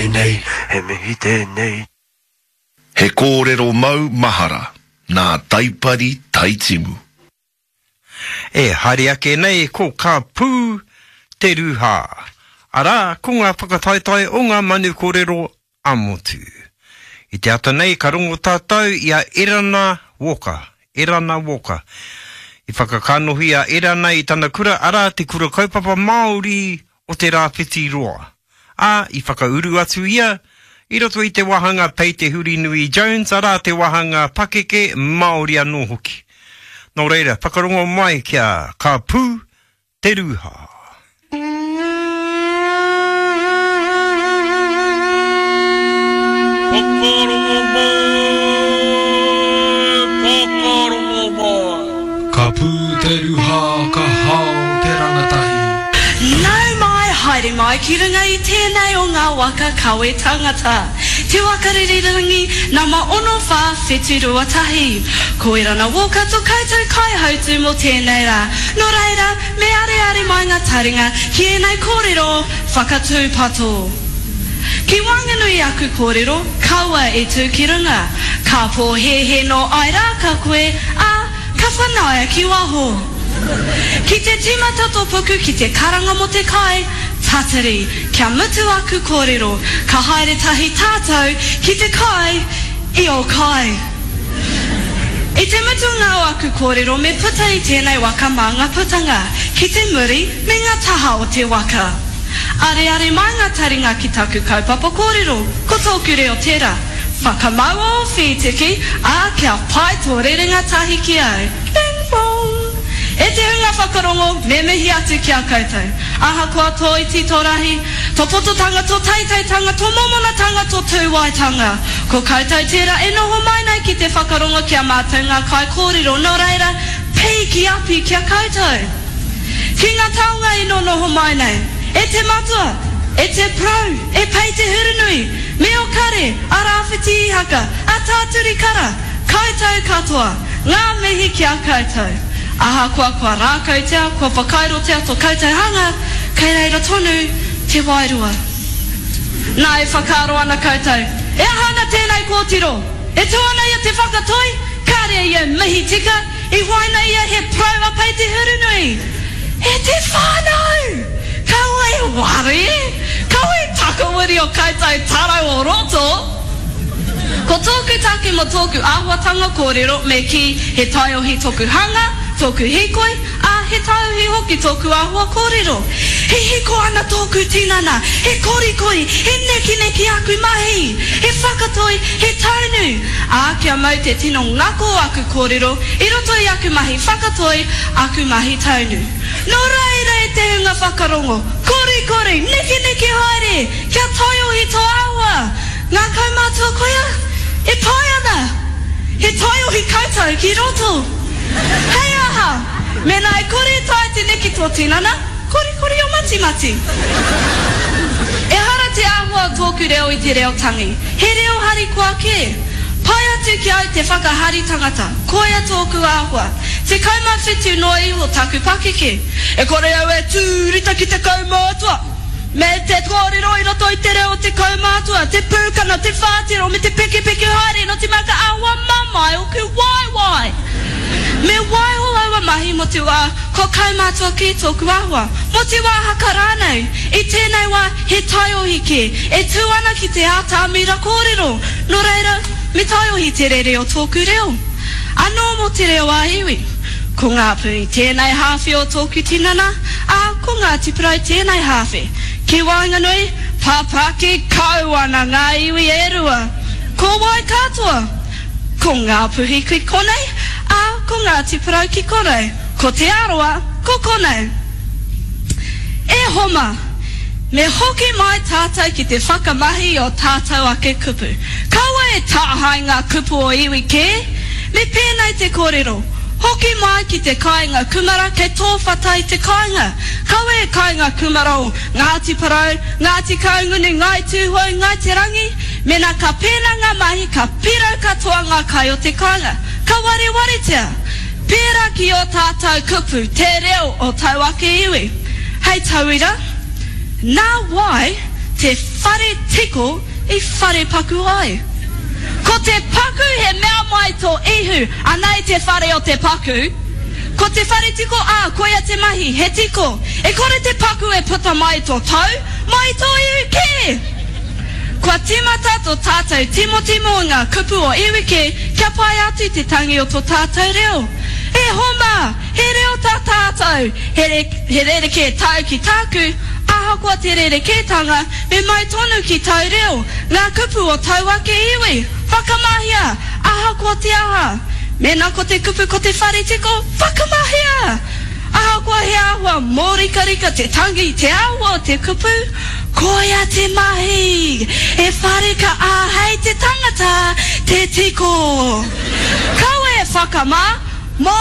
tēnei, he mihi tēnei. He kōrero mau mahara nā Taipari Taitimu. E haere ake nei ko Ka Pū Te Rūhā, arā, ko ngā whakataetae o ngā manu kōrero ā-motu. I te ata nei ka rongo tātou i a Erana Walker, Erana Walker. I whakakanohi a Erana i tana kura, arā, te Kura Kaupapa Māori o Te Rāwhiti Roa. Ā, i whakauru atu ia i roto i te wāhanga Pei Te Hurinui Jones, arā, te wāhanga pakeke Māori anō hoki. Nō reira, whakarongo mai kia ka pū te rūhā. Whakarongo mai, whakarongo mai. Ka pū te ruha, ka hao te rangatahi. Nau mai, haere mai ki runga i tēnei o ngā waka kawe tangata. Te waka ririrangi nama 6471. Ko Erana Walker to koutou kaihautu mō tēnei rā. Nō reira, me areare mai ngā taringa ki ēnei kōrero whakatūpato. Ki waenganui i aku kōrero, kaua e tū ki runga. Ka pōhēhē nō Airāka koe, ā, ka whanaia ki waho. Ki te tīmata tō puku ki te karanga mō te kai, tatari, kia mutu aku kōrero, ka haere tahi tātou ki te kai i ō kai. I te mutunga o aku kōrero me puta i tēnei waka mā ngā putanga ki te muri me ngā taha o te waka. Areare mai ngā taringa ki taku kaupapa kōrero, ko tōku reo tērā. Whakamaua ō whītiki, ā, kia pai tō rerenga tahi ki au. Ping pong! E te hunga whakarongo, me mihi atu ki a koutou. Ahakoa tō iti, tō rahi, tō pototanga, tō teiteitanga, tō mōmonatanga, tō tūwaetanga. Ko koutou tērā e noho mai nei ki te whakarongo ki a mātou ngā kaikōrero, nō reira, pīki api ki a koutou. Ki ngā taonga i nonoho mai nei, e te matua, e te parau, e Pei Te Hurinui, me o Kare, a Rāwhiti Ihaka, a Tāturi Kara, koutou katoa, ngā mihi ki a koutou. Ahakoa kua rākautia, kua whakairotia to koutou hanga, kei reira tonu te wairua. Nā, e whakaaro ana koutou, e aha ana tēnei kōtiro? E tū ana ia te whakatoi, kāre ia mihi tika, I huaina ia he parau a Pei Te Hurunui. E te whānau! Kaua e ware! Kaua e takawiri o koutou tarau o roto! Ko tōku take mō tōku āhuatanga kōrero me kī he taiohi toku hanga, tōku hīkoi, ā, he taiohi hoki tōku āhua kōrero. He hiko ana tōku tinana, he korikori, he nekineki aku mahi, he whakatoi, he taunu, ā, kia mau te tino ngako o aku kōrero i roto i aku mahi whakatoi, aku mahi taunu. Nō reira e te hunga whakarongo, korikori, nekeneke haere, kia taiohi tō āhua! Ngā kaumātua koia? E pai ana! He taiohi koutou ki roto! Hei aha! Mēnā e kore e taea te neke tō tinana, korikori o matimati. Ehara te āhua o tōku reo i te reo tangi, he reo harikoa kē. Pai atu ki au te whakahari tangata, koia tōku āhua. 17 noa iho taku pakeke. E kore au e tū rita ki te kaumātua! Me te kōrero i roto i te reo o te kaumātua, te pūkana, te whātero me te pekepeke haere nō te mea ka āhua mamae ōku waewae. Me waiho aua mahi mō te wā kua kaumātua kē tōku āhua, mō te wā haka rānei. I tēnei wā he taiohi kē e tū ana ki te atamira kōrero, nō reira, me taiohi te rere o tōku reo. Anō mō te reo ā-iwi. Ko Ngāpuhi tēnei hāwhe o tōku tinana, ā, ko Ngāti Porou tēnei hāwhe. Ki waenganui, papaki kau ana ngā iwi e rua. Ko wai katoa? Ko Ngāpuhi ki konei, ā, ko Ngāti Porou ki konei. Ko Te Arawa, ko konei. E Homa! Me hoki mai tātou ki te whakamahi i ō tātou ake kupu. Kaua e tāhae ngā kupu o iwi kē. Me pēnei te kōrero, Hoki mai ki te kāinga kumara kei tō whata i te kāinga. Kaua e kainga kumara o Ngāti Porou, Ngāti Kahungunu, Ngāi Tūhoe, Ngāi Te Rangi. Mēnā ka pēnā ngā mahi ka pirau katoa ngā kai o te kāinga. Ka warewaretia. Pērā ki ō tātou kupu, te reo o tau ake iwi. Hei tauira, Nā wai? te whare tiko i whare paku ai. Ko te paku he mea mai tō ihu, anei te whare o te paku. Ko te whare tiko, ā, koia te mahi, he tiko. E kore te paku e puta mai tō tou, mai tō ihu kē! Kua tīmata tō tātou timotimo i ngā kupu o iwi kē kia pai atu te tangi o tō tātou reo. E homa! He reo tā tātou, he, he rerekē tāu ki tāku, ahakoa te rerekētanga, me mau tonu ki tāu reo, ngā kupu o tāu ake iwi. Whakamahia! Ahakoa te aha. Mēnā ko te kupu ko te whare tiko, whakamahia! Ahakoa he āhua mōrikarika te tangi, te āhua o te kupu, koia te mahi! He whare ka āhei te tangata te tiko. Kaua e whakamā!